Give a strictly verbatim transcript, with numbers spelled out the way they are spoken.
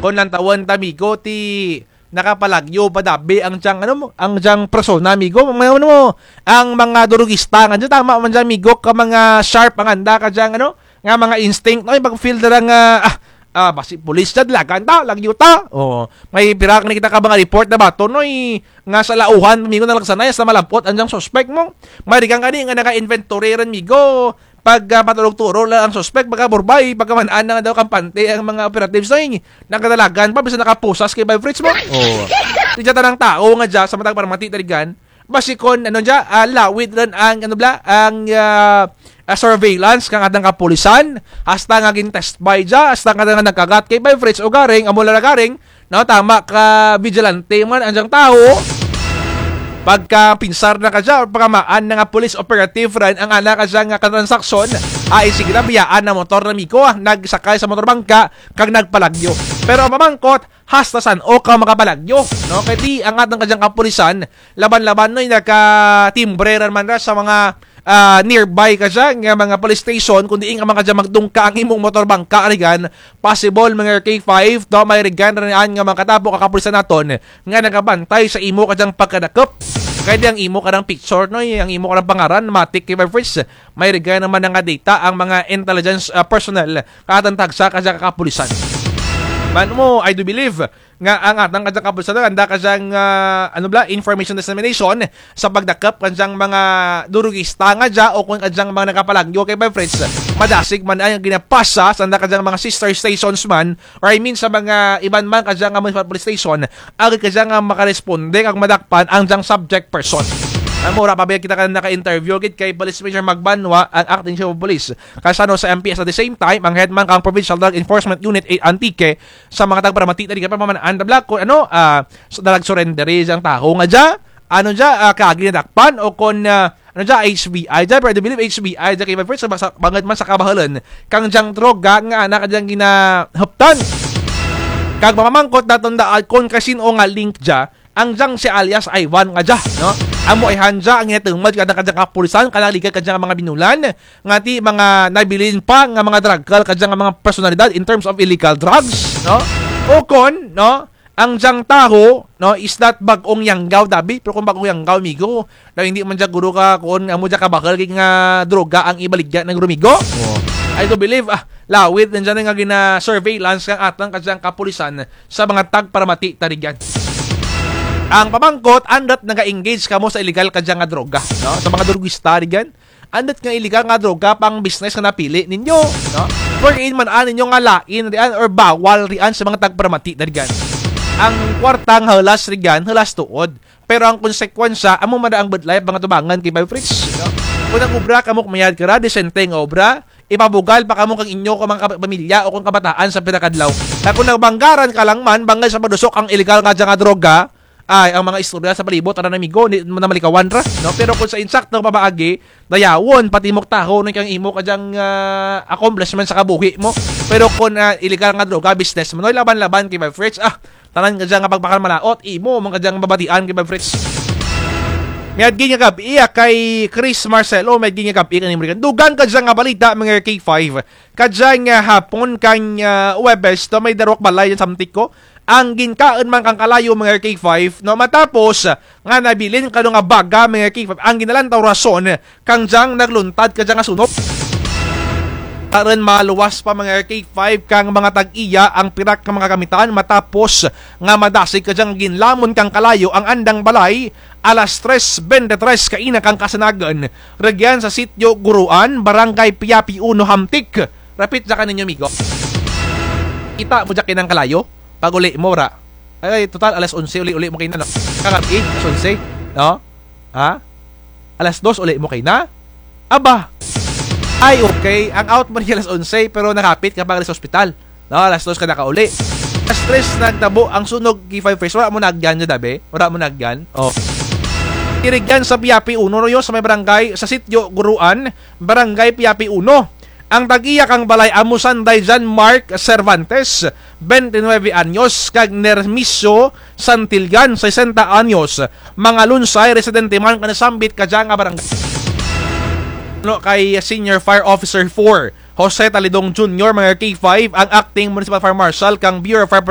Kon lantawun ta, amigo, ti nakapalagyo pa dabi ang dyang, ano, ang dyang persona, amigo. Mga, ano, ang mga durugista nga dya, tama man dya, amigo, ka mga sharp ang anda ka dyang, ano, nga mga instinct, no, pag-feel na lang, ah, ah, ah, basi pulis dya, dalagan ta, lagyo ta. O, may pira kani kita ka mga report na bato, no, eh, nga sa Laujan, amigo, nalagsanay, sa malab-ot ang dyang suspect mo. May rigan kani nga naka-inventory ran, amigo. Pag, ah, paturog-turog lang ang suspect, pagkaburbay, pagkaman-an na nga daw kampante ang mga operatives, ay, nagdadalagan pa, bisan nakapusas kay Vibe Fritz mo. O. Ti dya tanang tao nga dya, sa matag paramati, tarigan, basi kon, ano dya, ah, lawid ran ang, ano bala, ang, ah, ah, surveillance kang atang kapulisan, hasta nga gin-test by dya, hasta nga nagkagat kay Vibe Fritz, o garing, amo lang na garing, no, tama ka vigilante man ang dyang tao. Pagkapinsar na ka dya, or pagkamaan na nga police operative ran ang ana ka dya nga katransaksyon, ay sige na, biyaan na motor na, amigo, ah, nagsakay sa motor bangka, kag nagpalagyo. Pero ang pamangkot, hasta san-o ka makapalagyo, no? Kay ti ang atang ka dyang kapulisan, laban-laban, no, nakatimbre ran man ra sa mga, ah, nearby ka dya nga mga police station, kon diin ka man ka dya magdungka ang imong motor bangka, rigan, possible, mga K five, no, may rigan ran nga mga katapo ka kapulisan naton nga nagabantay sa imo ka dyang pagkadakop. Kay ti ang imo ka dyang picture, no, ang imo ka dyang pangaran, matik kay Vibe Fritz, may rigan man nga data ang mga intelligence, ah, personnel, kang atang tagsa ka dya ka kapulisan. Man mo, I do believe nga ang atang ka dyang kapulisan, anda ka dyang, ah, ano bala, information dissemination sa pagdakop ka dyang mga durugista nga dya o kon ka dyang mga nakapalagyo kay Vibe Fritz. Madasig man ang ginapasa sa anda ka dyang mga sister stations man, or I mean sa mga iban man ka dyang nga municipal police station, agud ka dyang nga makaresponde kag madakpan ang dyang subject person. Amo ra pa ba kita ka naka-interview gid kay Police Major Magbanwa, ang acting chief of police kang San Jose M P S, at the same time, ang head man kang Provincial Drug Enforcement Unit eight Antique, sa mga tagparamati, tarigan, pamaman-an ra bala kon, ano, ah, so, dalag surrender dyang tao nga dya, ano dya, ah, kaagi nadakpan, o kon, ah, ano dya, H B I dya, pero I do believe H B I dya kay Vibe Fritz, sa, sa, bangud man sa kabahalan kang dyang droga nga ana ka dyang ginahuptan. Kag pamangkot naton daan kon kasin-o nga link dya ang dyang si alias Ivan nga dya, no? Amo ayhan dya ang ginatumod kang atang ka dyang kapulisan, kang nagligad ka dyang mga binulan, nga ti mga nabilin pa nga mga drug cartel ka dyang mga personalidad in terms of illegal drugs, no? O kon, no, ang dyang tao, no, is not bag-ong yanggaw, dabi, pero kon bag-ong yanggaw, amigo, daw indi man dya guro ka, kon amo dya kabahal gid nga droga ang ibaligya na guro, amigo. O. I do believe, ah, lawid na dyan nga gina-surveillance kang atang ka dyang kapulisan sa mga tagparamati, tarigan. Ang pamangkot, andut naga-engage kamo sa illegal ka dya nga droga, no? Sa mga drugista, tarigan. Andut nga illegal nga droga pang-business nga napili ninyo, no? Wherein man-an ninyo nga lain rian or bawal rian sa mga tagparamati, tarigan. Ang kwarta nga hulas rian, hulas tuod. Pero ang konsekwensya, amo man ra ang budlay, mga tubangan kay Vibe Fritz, no? Kon nag-obra kamo, kumayad kara, disente nga obra, ipabugal pa kamo kang inyo ka mga kab-, pamilya o kon kabataan sa pira ka adlaw. Kag kon nagbanggaran ka lang man, bangud sa pagdusok ang illegal nga dya nga droga, ay, ang mga istorya sa palibot, tanan, amigo, di mo na malikawan ra, no? Pero kon sa insakto nga pamaagi, dayawon, patimok tahonon kang imo ka dyang, ah, accomplishment sa kabuhi mo. Pero kon, ah, illegal nga droga, business mo, no? Laban-laban kay Vibe Fritz, ah, tanan ka dya nga pagpakamalaot, imo man ka dya nga babatian kay Vibe Fritz. Miaging nga gab-i, ah, kay Chris Marcelo, miaging nga gab-i kang American. Dugang ka dya nga balita, mga K five. Kadya nga hapon kang, ah, Huwebes, no, may darwa ka balay dyan sa Antique, ang ginkaun man kang kalayo, mga K five, no, matapos, ah, nga nabilin kano nga baga, mga K five, ang ginalantaw rason kang dyang nagluntad ka dya nga sunog. Aron maluwas pa, mga K five, kang mga tag-iya ang pira ka mga kagamitan matapos nga madasig ka dyang ginlamon kang kalayo ang andang balay, alas tres bente tres kaina kang kasanagan, rugyan sa Sitio Guruan, Barangay Piapi uno, Hamtic. Rapit dya kaninyo, migo. Kita mo dya kaina ang kalayo? Pag-uli mo, ra. Ay, total, alas onse, uli-uli mo kaina, no? Kagab-i, alas onse, no? Ha? Alas dos, uli mo kaina? Aba! Ay, okay. Ang out mo niya alas onse, pero nakapit ka pa sa ospital. No, alas dos ka nakauli. Alas tres nagtabo ang sunog, K five Fresh. Wara mo naagyan dya, dabi? Wara mo naagyan? O. Irigyan sa Piapi uno, no, yun, sa may barangay, sa Sitio Guruan, Barangay Piapi uno. Ang tag-iya kang balay amo sanday John Mark Cervantes, bente nuebe anyos, kag Nermisio Santillan, sesenta anyos. Mga lunsay, residente man kang nasambit kadya nga barangay. No, kay Senior Fire Officer four, Jose Talidong Junior, mga K five, ang Acting Municipal Fire Marshal kang Bureau of Fire